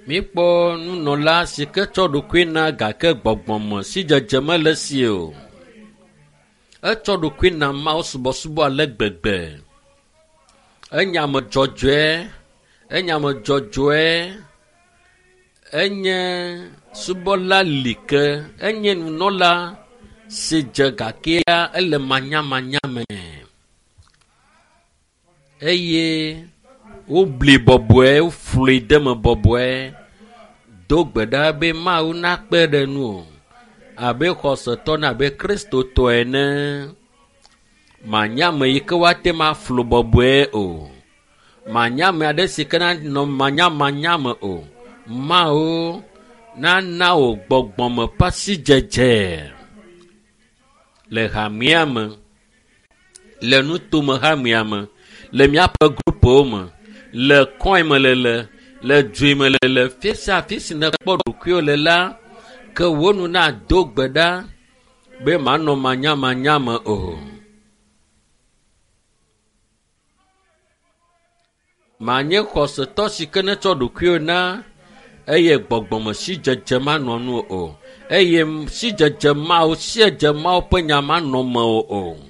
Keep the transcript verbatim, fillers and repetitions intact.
Míkpɔ nunɔla si ke tsɔ ɖokui na gake gbɔgbɔme sidzedze mele esi o. Etsɔ ɖokui na Mawu subɔsubɔ ale gbegbe. Enye ame dzɔdzɔe, enye ame dzɔdzɔe, enye subɔla like, enye nunɔla si dze gakea ele manyamanya me eye wobli bɔbɔe, woflui de me bɔbɔe. Do gbe ɖa be Mawu nakpe ɖe nuwò abe xɔsetɔ ne abe kristotɔ ene. Manye ame yi ke woate ŋu aflu bɔbɔe o. Manye ame aɖe si ke nanɔ manyamanya me o. Mawu nana wò gbɔgbɔme ƒe asidzedze le hamea me, le nutome hamea me, le míaƒe grupowo me, le kɔe me lele, le dzoe me lele, fi sia fi si nèkpɔ ɖokuiwò le la, ke wò nu nado gbe ɖa be manɔ manyamanya me o. Manye xɔsetɔ si ke netsɔ ɖokuiwò na eye gbɔgbɔme sidzedze manɔ nu o eye sidzedze mawo siedze mawo ƒe nya manɔ mewò o.